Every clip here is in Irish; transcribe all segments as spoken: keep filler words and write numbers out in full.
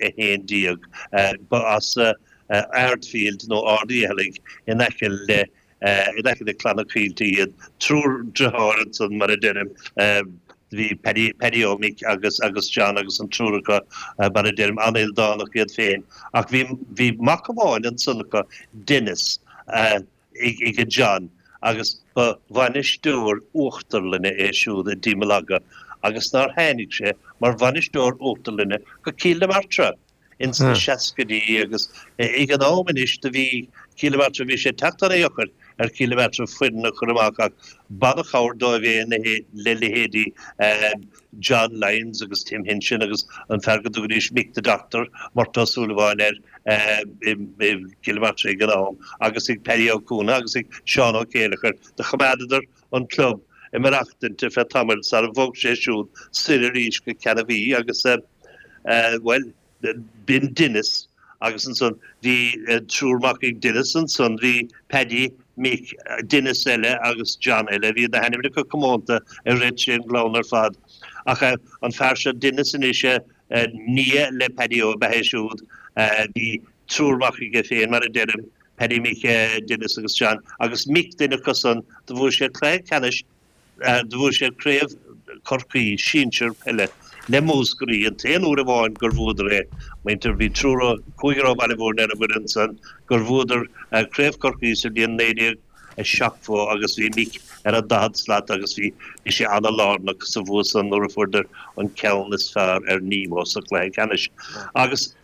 a haon déag. Ba as Ardfield nó Ard Uí Fhearraigh in aice le in aice le Clanna Caoilte iad. Triúr deartháir ansan mar a deirim. Bhí Paddy Paddy Ó Mick agus agus John agus an triúr acu mar a deirim an-ildánach iad féin. Ach bhí bhí mac amháin ansan acu, Denis, ag John agus ba bhainisteoir uachtarlainne é siúd i dTímelaga agus nár tháinig sé mar bhainisteoir uachtarlainne go Cill na Martra ins na seascaidí agus ag an am anois do bhí Cill na Martra bhí sé teacht an-dheacair ar Chill na Martra foireann a chur amach ach b'an-chabhair dóibh é le leithéidí John Lyons agus Tim Hinson agus an fear go dtugaidís Mick the Doctor, Murtagh Ó Súilleabháin air i gCill na Martra ag an am agus ag Paddy Ó Cuana agus ag Seán Ó Céileachair. Do choimeádadar an club ag maireachtaint ar feadh tamaill sara bhog sé siúd soir arís go Ceann Mhí agus, bhuel, b'in Denis agus ansan bhí triúr mac ag Denis ansan, bhí Paddy, Mick, Denis eile agus John eile, bhí na hainmneacha comónta i rith tríd an gclann ar fad. Ach an fear seo Denis anois, nia le Paddy Ó ab ea é siúd, bhí triúr mac aige féin mar a deirim, Paddy, Mick, Denis agus John, agus Mick duine acu san, do bhuaigh sé cluiche ceannais Do bhuaigh sé Craobh Chorcaí Sinsir Peile le Múscraí, an t-aon uair amháin gur bhuadar é. Muintir, bhí triúr ó, cúigear ó Bhaile Mhúirne ar an bhfoireann san gur bhuadar Craobh Chorcaí sa bhliain naoi déag seachtó agus bhí Mick ar an daichead slat agus bhí, bhí sé ana-lárnach sa bhua san nuair a fuaireadar an ceann is fearr ar Nemo sa chluiche ceannais. Agus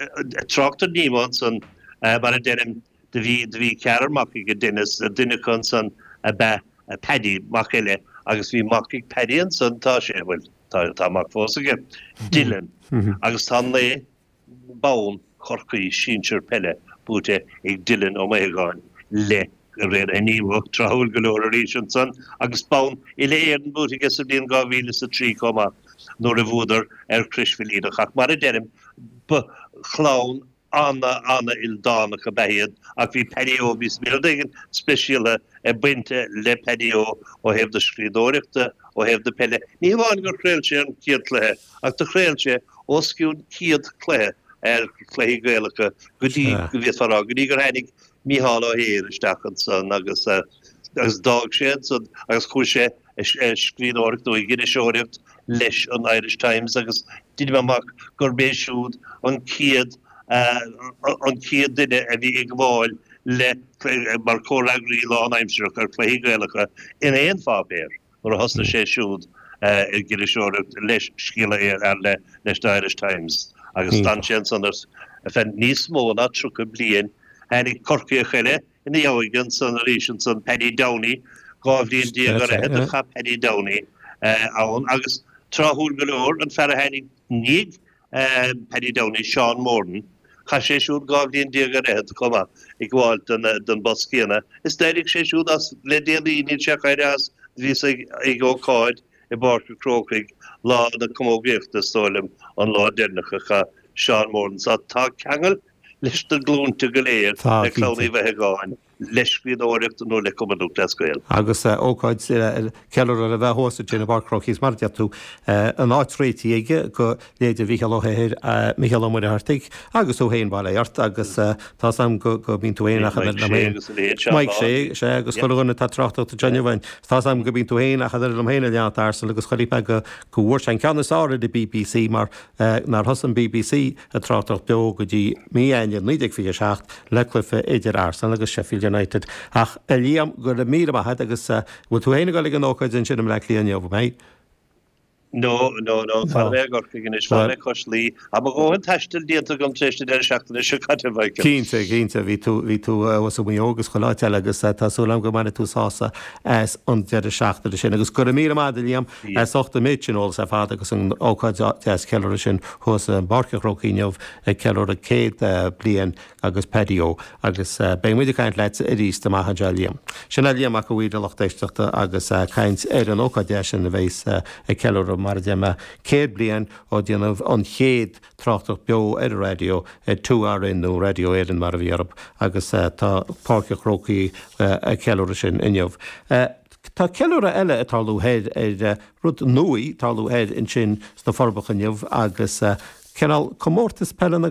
trácht ar Nemo ansan, mar a deirim, do bhí, do bhí ceathrar mac aige Denis, duine acu ansan ab ea Paddy, mac eile, agus bhí mac ag Paddy ansan, tá sé, bhuel, tá, tá mac fós aige, Dylan, agus tá naoi bonn Chorcaí sinsir peile buaite ag Dylan Ó Maothagáin le Raonaithe Nemo, tráthúil go leor arís ansan, agus bonn Uile-Éireann buaite aige sa bhliain dhá mhíle is a trí chomh maith, nuair a bhuadar ar Chrois Mhaoilíonach. Ach mar a deirim, ba chlann ana, ana-ildánach ab ea iad ach bhí Paddy Ó, bhí rud éigin speisialta ag baint le Paddy Ó ó thaobh na scríbhneoireachta, ó thaobh na peile. Ní hamháin gur chraol sé an chéad chluiche ach do chraol sé os cionn céad cluiche ar chluichí Gaelacha go dtí, go bhféadfá a rá, go dtí gur tháinig Mícheál Ó hEithir isteach ansan agus agus d'fhág sé ansan agus chuaigh sé ag scríbhneoireacht nó ag iriseoireacht leis an Irish Times agus deinim amach gurb é siúd an chéad an chéad duine a bhí ag gabháil le mar chomhfhreagraí lánaimsearach ar chluichí Gaelacha in aon pháipéar nuair a thosnaigh sé siúd ag iriseoireacht leis Scéala le leis The Irish Times agus d'fhan sé ansan ar feadh níos mó ná tríocha bliain. Tháinig Corcaíoch eile ina dhiaidh ansan arís ansan, Paddy Downey, dhá bhliain déag ar fhichead a chaith Paddy Downey ann agus tráthúil go leor, an fear a tháinig i ndiaidh Paddy Downey, Seán Moran, chaith sé siúd dhá bhliain déag ar fhichead chomh maith ag gabháil don bpost céanna. Is d'éirigh sé siúd as le déanaí, níl sé ach éirithe as, bhíos ag ócáid i bPáirc an Chrócaigh lá na camógaíochta is dóigh liom, an lá deireanach a chaith Seán Moran. Tá ceangal leis na glúinte go léir le Clann Uí Mhaothagáin, le scríbhneoireacht nó le Cumann Lúthchleas Gael. Agus ócáid ceiliúradh le bheith thuas ansin i bPáirc an Chrócaigh mar a deir tú, an áit réitithe aige do leithéide Mhícheál Ó hEithir, Mícheál Ó Muircheartaigh agus tú féin, bail ó Dhia ort, agus tá's a'm go mbíonn tú féin achan uair liom féin. Mike Shea, sea, agus chuile dhuine atá ag tráchtaireacht anseo inniu againn. Tá's a'm go mbíonn tú féin achan uair liom féin ag leanacht Arsenal agus chonaic mé go bhfuair sé an ceann is fearr ar an bbc mar nár thosaigh an bbc ag tráchtaireacht beo go dtí mí Eanáir naoi déag fiche a seacht le cluiche idir Arsenal agus Sheffield United. Ach, a Liam, go raibh míle maith agat agus bhfuil tú féin ag dul ag an ócáid ansin i mBleá Cliath inniu, an mbeidh? No, no, no, fanfaidh mé i gCorcaigh anois, fanfaidh mé cois Laoi. Tá mo dhóthain taistil déanta agam tar éis na deireadh seachtaine seo caite, Michael. Cinnte, cinnte, bhí tú, bhí tú thuas i Maigh Eo agus chuile áit eile agus tá súil agam go mbainfidh tú sásamh as an deireadh seachtaine sin. Agus go raibh míle maith agat, a Liam, as ucht an méid sin eolas ar fad agus an ócáid deas ceiliúradh sin thuas i bPáirc an Chrócaigh inniu ag ceiliúradh céad bliain agus Paddy Ó agus beidh muid ag caint leat arís amach anseo a Liam. Sin é Liam Mac a' Mhaoir a lucht éisteachta agus caint ar an ócáid deas sin a bheas ag ceiliúradh mar a deir mé céad bliain ó déanamh an chéad tráchtaireacht beo ar an raidió ar two R N nó Raidió Éireann mar a bhí orthu agus tá Páirc an Chrócaigh ag ceiliúradh sin inniu. Tá ceiliúradh eile ag tarlú thoir ar rud nua ag tarlú thoir ansin sna Forbacha inniu agus cineál comórtas peile na